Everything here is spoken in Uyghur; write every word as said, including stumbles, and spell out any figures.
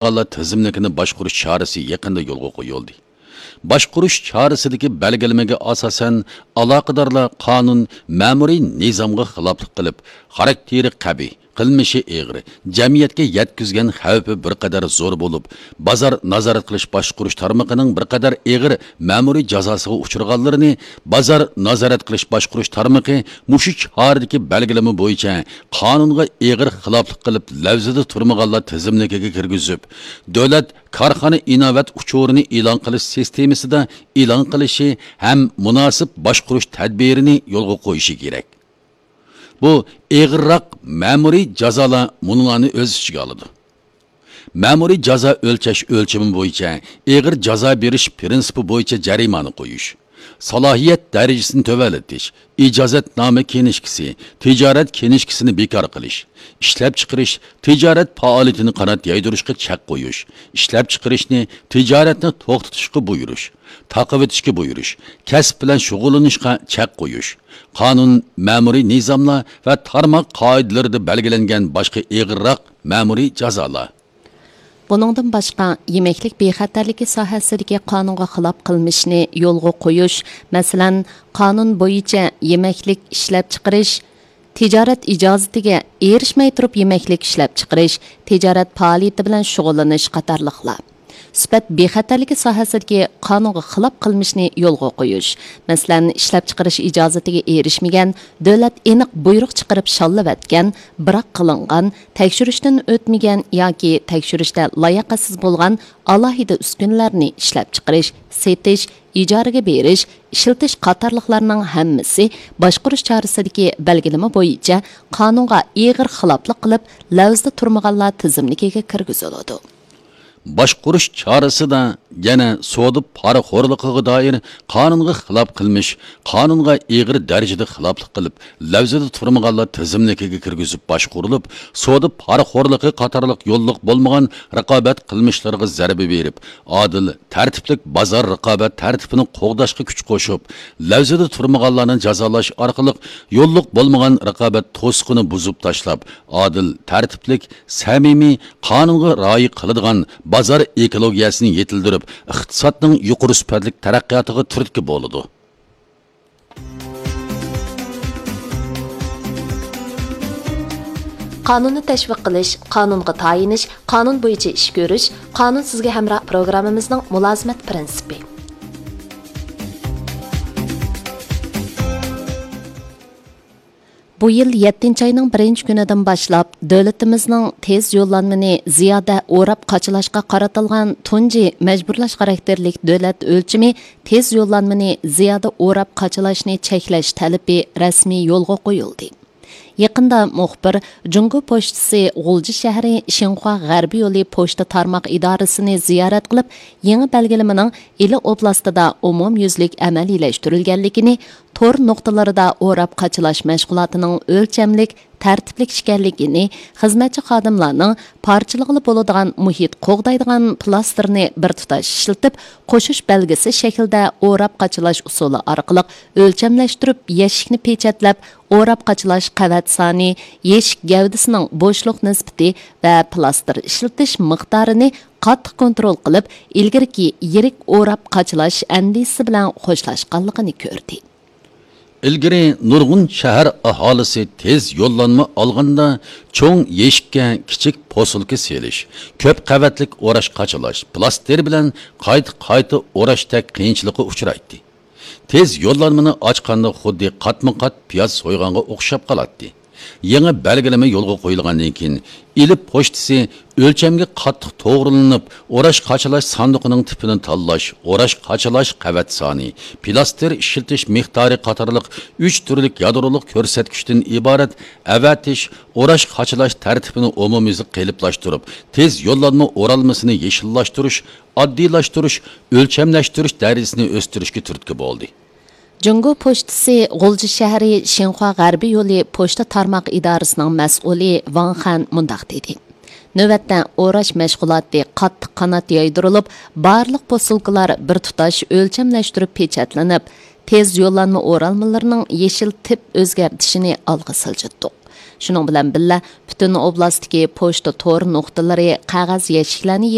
تۇرمىغانلار تىزىملىكىنى باشقۇرۇش چارىسى يېقىندا يولغا قويۇلدى. باشقۇرۇش چارىسىدىكى بەلگىلىمىگە ئاساسەن، ئالاقىدارلار قانۇن، مەمۇرىي نىزامغا خىلاپلىق قىلىپ، خاراكتېرى قەبىھ، قىلمىشى ئېغىر، جەمئىيەتكە يەتكۈزگەن خەۋپى بىر قەدەر زور بولۇپ، بازار نازارەت قىلىش باشقۇرۇش تارمىقىنىڭ بىر قەدەر ئېغىر مەمۇرىي جازاسىغا ئۇچرىغانلىرىنى بازار نازارەت قىلىش باشقۇرۇش تارمىقى مۇشۇ چارىدىكى بەلگىلىمە بويىچە قانۇنغا ئېغىر خىلاپلىق قىلىپ، لەۋزىدە تۇرمىغانلار تىزىملىكىگە كىرگۈزۈپ، دۆلەت كارخانا ئىناۋەت ئۇچۇرىنى ئېلان قىلىش سىستېمىسىدا ئېلان قىلىشى ھەم مۇناسىپ باشقۇرۇش تەدبىرىنى يولغا قويۇشى كېرەك. بۇ ئېغىرراق مەمۇرىي جازالار مۇنۇلارنى ئۆز ئىچىگە ئالىدۇ. مەمۇرىي جازا ئۆلچەش ئۆلچىمى بويىچە ئېغىر جازا بېرىش پىرىنسىپى بويىچە جەرىمانە قويۇش، سالاھىيەت دەرىجىسىنى تۆۋەنلىتىش، ئىجازەتنامە كىنىشكىسى، تىجارەت كىنىشكىسىنى بىكار قىلىش، ئىشلەپچىقىرىش، تىجارەت پائالىيىتىنى قانات يايدۇرۇشقا چەك قويۇش، ئىشلەپچىقىرىشنى، تىجارەتنى توختىتىشقا بۇيرۇش، تاقىۋېتىشكە بۇيرۇش، كەسىپ بىلەن شۇغۇللىنىشقا چەك قويۇش، قانۇن، مەمۇرىي نىزاملار ۋە تارماق قائىدىلىرىدە بەلگىلەنگەن باشقا ئېغىرراق مەمۇرىي جازالار. بۇنىڭدىن باشقا، يېمەكلىك بىخەتەرلىكى ساھەسىدىكى قانۇنغا خىلاپ قىلمىشنى يولغا قويۇش، مەسىلەن، قانۇن بويىچە يېمەكلىك ئىشلەپچىقىرىش، تىجارەت ئىجازىتىگە ئېرىشمەي تۇرۇپ يېمەكلىك ئىشلەپچىقىرىش، تىجارەت پائالىيىتى بىلەن شۇغۇللىنىش قاتارلىقلار. سۈپەت بىخەتەرلىكى ساھەسىدىكى قانۇنغا خىلاپ قىلمىشنى يولغا قويۇش، مەسىلەن، ئىشلەپچىقىرىش ئىجازىتىگە ئېرىشمىگەن، دۆلەت ئېنىق بۇيرۇق چىقىرىپ شاللىۋەتكەن، بىراق قىلىنغان، تەكشۈرۈشتىن ئۆتمىگەن ياكى تەكشۈرۈشتە لاياقەتسىز بولغان ئالاھىدە ئۈسكۈنىلەرنى ئىشلەپچىقىرىش، سېتىش، ئىجارىگە بېرىش، ئىشلىتىش قاتارلىقلارنىڭ ھەممىسى باشقۇرۇش چارىسىدىكى بەلگىلىمە بويىچە قانۇنغا ئېغىر خىلاپلىق قىلىپ، لەۋزىدە تۇرمىغانلار تىزىملىكىگە كىرگۈزۈلىدۇ. باشقۇرۇش چارىسىدا يەنە سودا پارىخورلۇقىغا دائىر قانۇنغا خىلاپ قىلمىش، قانۇنغا ئېغىر دەرىجىدە خىلاپلىق قىلىپ، لەۋزىدە تۇرمىغانلار تىزىملىكىگە كىرگۈزۈپ باشقۇرۇلۇپ، سودا پارىخورلۇقى قاتارلىق يوللۇق بولمىغان رىقابەت قىلمىشلىرىغا زەربە بېرىپ، ئادىل، تەرتىپلىك بازار رىقابەت تەرتىپىنى قوغداشقا كۈچ قوشۇپ، لەۋزىدە تۇرمىغانلارنى جازالاش ئارقىلىق يوللۇق بولمىغان رىقابەت توسۇقىنى بۇزۇپ تاشلاپ، ئادىل، تەرتىپلىك، سەمىمىي، قانۇنغا رىئايە قىلىدىغان بازار ئېكولوگىيەسىنى يېتىلدۈرۈپ، ئىقتىسادنىڭ يۇقىرى سۈپەتلىك تەرەققىياتىغا تۈرتكە بولىدۇ. قانۇننى تەشۋىق قىلىش، قانۇنغا تايىنىش، قانۇن بويىچە ئىش كۆرۈش، قانۇن سىزگە ھەمراھ پروگراممىمىزنىڭ مۇلازىمەت پىرىنسىپى. بۇ يىل يەتتىنچى ئاينىڭ بىرىنچى كۈنىدىن باشلاپ، دۆلىتىمىزنىڭ تېز يوللانمىنى زىيادە ئوراپ قاچىلاشقا قارىتىلغان تۇنجى مەجبۇرلاش خاراكتېرلىك دۆلەت ئۆلچىمى تېز يوللانمىنى زىيادە ئوراپ قاچىلاشنى چەكلەش تەلىپى رەسمىي يولغا قويۇلدى. يېقىندا مۇخبىر جۇڭگو پوچتىسى غۇلجا شەھىرى شىنخۇا غەربىي يولى پوچتا تارماق ئىدارىسىنى زىيارەت قىلىپ، يېڭى بەلگىلىمىنىڭ ئىلى ئوبلاستىدا ئومۇميۈزلۈك ئەمەلىيلەشتۈرۈلگەنلىكىنى، تور نۇقتىلىرىدا ئوراپ قاچىلاش مەشغۇلاتىنىڭ ئۆلچەملىك، تەرتىپلىك ئىكەنلىكىنى، خىزمەتچى خادىملارنىڭ پارچىلىغىلى بولىدىغان مۇھىت قوغدايدىغان پلاستېرنى بىر تۇتاش ئىشلىتىپ، قوشۇش بەلگىسى شەكلىدە ئوراپ قاچىلاش ئۇسۇلى ئارقىلىق ئۆلچەملەشتۈرۈپ، يەشىكنى پېچەتلەپ، ئوراپ قاچىلاش قەۋەت سانى، يەشىك گەۋدىسىنىڭ بوشلۇق نىسبىتى ۋە پلاستېر ئىشلىتىش مىقدارىنى قاتتىق كونترول قىلىپ، ئىلگىرىكى يىرىك ئوراپ قاچىلاش ئەندىزىسى بىلەن خوشلاشقانلىقىنى كۆردى. ئىلگىرى نۇرغۇن شەھەر ئاھالىسى تېز يوللانما ئالغاندا چوڭ يەشىككە كىچىك پوسۇلكا سېلىش، كۆپ قەۋەتلىك ئوراش قاچىلاش، پلاستېر بىلەن قايتا-قايتا ئوراشتەك قىيىنچىلىققا ئۇچرايتتى. تېز يوللانمىنى ئاچقاندا خۇددى قاتمۇ قات پىياز سويغانغا ئوخشاپ قالاتتى. يېڭى بەلگىلىمە يولغا قويۇلغاندىن كېيىن، ئىلى پوچتىسى ئۆلچەمگە قاتتىق توغرىلىنىپ، ئوراش قاچىلاش ساندۇقىنىڭ تىپىنى تاللاش، ئوراش قاچىلاش قەۋەت سانى، پلاستېر ئىشلىتىش مىقدارى قاتارلىق ئۈچ تۈرلۈك يادرولۇق كۆرسەتكۈچتىن ئىبارەت ئەۋەتىش، ئوراش قاچىلاش تەرتىپىنى ئومۇميۈزلۈك قېلىپلاشتۇرۇپ، تېز يوللانما ئورالمىسىنى يېشىللاشتۇرۇش، ئاددىيلاشتۇرۇش، ئۆلچەملەشتۈرۈش دەرىجىسىنى ئۆستۈرۈشكە تۈرتكە بولدى. جۇڭگو پوچتىسى غۇلجا شەھىرى شىنخۇا غەربىي يولى پوچتا تارماق ئىدارىسىنىڭ مەسئۇلى ۋاڭ خەن مۇنداق دېدى: نۆۋەتتە ئوراش مەشغۇلاتى قاتتىق قانات يايدۇرۇلۇپ، بارلىق پوسۇلكىلار بىر تۇتاش ئۆلچەملەشتۈرۈپ پېچەتلىنىپ، تېز يوللانما ئورالمىلىرىنىڭ يېشىل تىپ ئۆزگەرتىشىنى ئالغا سىلجىتتۇق. شۇنىڭ بىلەن بىللە، پۈتۈن ئوبلاستتىكى پوچتا تور نۇقتىلىرى قەغەز يەشىكلەرنى